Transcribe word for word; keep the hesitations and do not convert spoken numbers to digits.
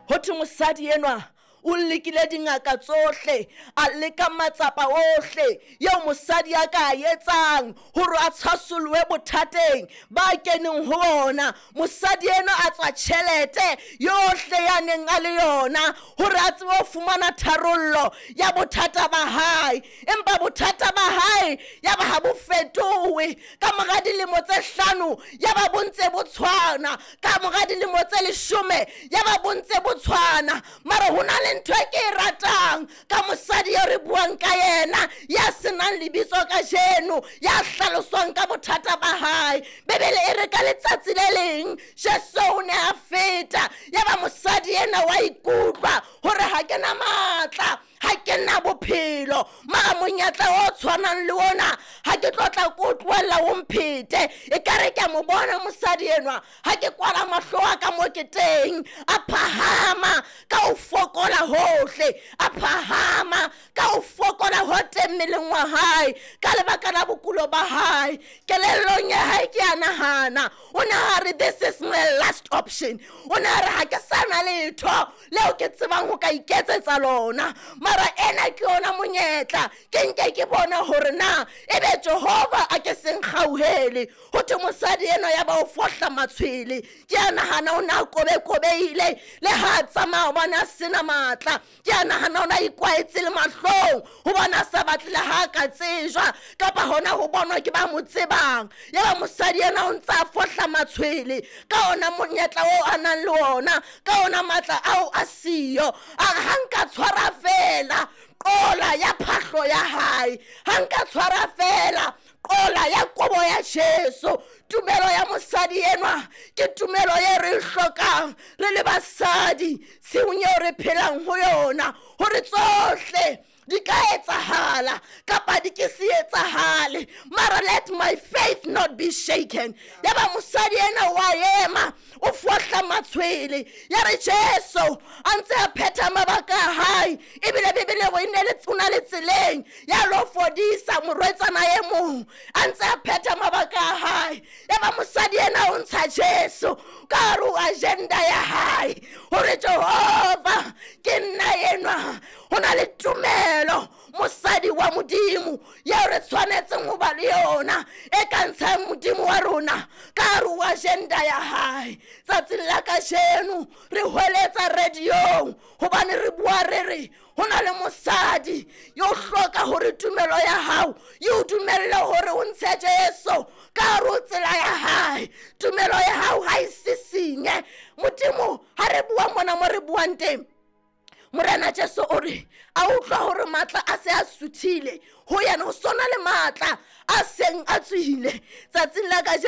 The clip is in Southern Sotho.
Ho thwe mosadi enwa o lekile dingaka tsohle, a leka matsapa ohle eo mosadi a ka a etsang hore a tshwasolohe bothateng ba keneng ho ona. Mosadi enwa a tswa tjhelete yohle ya neng a le yona hore a tsebe ho fumana tharollo ya bothata ba hae, empa bothata ba hae ya ba ha bo fetohe. Ka mora dilemo tse hlano ya ba bo ntse bo tshwana, ka mora dilemo tse leshome ya ba bo ntse bo tshwana. Mara ho na le ntho e ke e ratang ka mosadi eo re buang ka yena, ya senang lebitso kajeno, ya hlaloswang ka bothata ba hae. Bebele e re ka letsatsi le leng Jesu o ne a feta, ya ba mosadi ena wa ikutlwa hore ha ke na matla, ha ke na bophelo, mara monyetla o tshwanang le ona ha ke tlo tla ko tlohella o mphete. Ekare ke a mo bona mosadi enwa ha ke kwala mahlo a ka mo ke teng, a phahama ka ho fokola hohle, a phahama ka ho fokola ho teng mmeleng wa hae ka lebaka la bokulo ba hae. Kelellong ya hae ke a nahana o ne a re this is my last option, o ne a re ha ke sa na letho leo ke tsebang ho ka iketsetsa lona, mara ena ke yona monyetla, ke nke ke bona hore na ebe Jehova a ke seng kgauhele. Ho thwe mosadi enwa ya ba o fohla matshwele, ke a nahana o ne a kobekobeile le ha a tsamaya hobane a sena matla, ke a nahana o ne a ikwaetse le mahlong hobane a sa batle le ha a ka tsejwa kapa hona ho bonwa ke ba mo tsebang. Ya ba mosadi ena o ntse a fohla matshwele ka ona monyetla oo a nang le ona, ka ona matla ao a siyo. A re ha nka tshwara feela qola ya phahlo ya hae, ha nka tshwara feela qola ya kobo ya Jesu. Tumelo ya mosadi enwa ke tumelo e re e hlokang re le basadi tshiung eo re phelang ho yona, hore tsohle di ka etsahala kapa di ke se etsahale, mara let my faith not be shaken. Ya ba mosadi ena wa ema o fohla matshwele, ya re Jesu a ntse a phetha mabaka a hae, ebile Bibele o ne le o na le tseleng ya lo fodisa morwetsana e mong, a ntse a phetha mabaka a hae. Ya ba mosadi ena o ntsha Jesu ka hare ho agenda ya hae hore Jehova ke nna enwa. Ho na le tumelo mosadi wa Modimo eo re tshwanetseng ho ba le yona e ka ntshang Modimo wa rona ka hare ho agenda ya hae. Tsatsing la kajeno re hweletsa radiong hobane re bua re re ho na le mosadi yo hloka hore tumelo ya hao e o dumelle hore o ntshe Jesu ka hare ho tsela ya hae. Tumelo ya hao ha e sisinye Modimo. Ha re bua mona mo re buang teng, Morena Jesu o re a utlwa hore matla a se a suthile ho yena, ho sona le matla a seng a tswile tsatsing la kajeno.